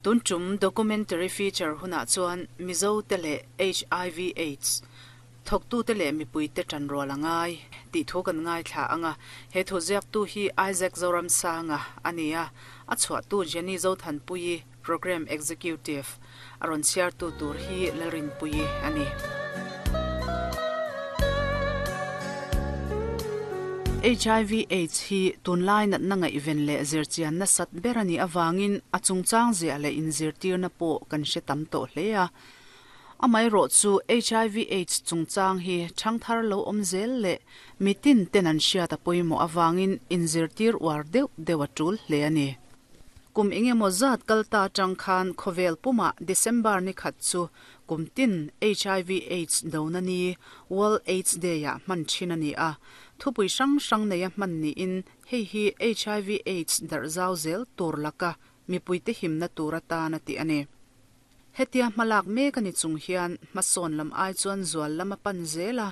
Tun tum documentary feature hunah chuan Mizo te leh hiv aids thawktute leh mipuite tanrual a ngai tih thu kan ngaithla ang a, he thu ziaktu hi Isaac Zoramsanga a ni a, a chhuahtu Jenny Zothanpuii, Programme Executive, a rawn chhiartu tur hi Lalrinpuii a ni. Hiv aids hi tunlai natna ngaihven leh zirchian nasat ber a nih avangin a chungchang ziah leh inzirtirna pawh kan hre tam tawh hle a. Amaherawh chu hiv aids chungchang hi thangthar lo awm zel leh mitin ten an hriat a pawimawh avangin inzirtir uar deuh deuh a tul hle a ni. Kum engemaw zat kal ta atang khan khawvel pumah December ni khat chu kum tin hiv aids dona ni, World Aids Day, ah hman thin a ni a. Thupui hrang hrang neia hman niin hei hi hiv aids darh zau zel tur laka mipuite himna tur atan a tih a ni. Hetia hmalak mek a ni chung hian hmasawn lam ai chuan zual lam a pan zel a.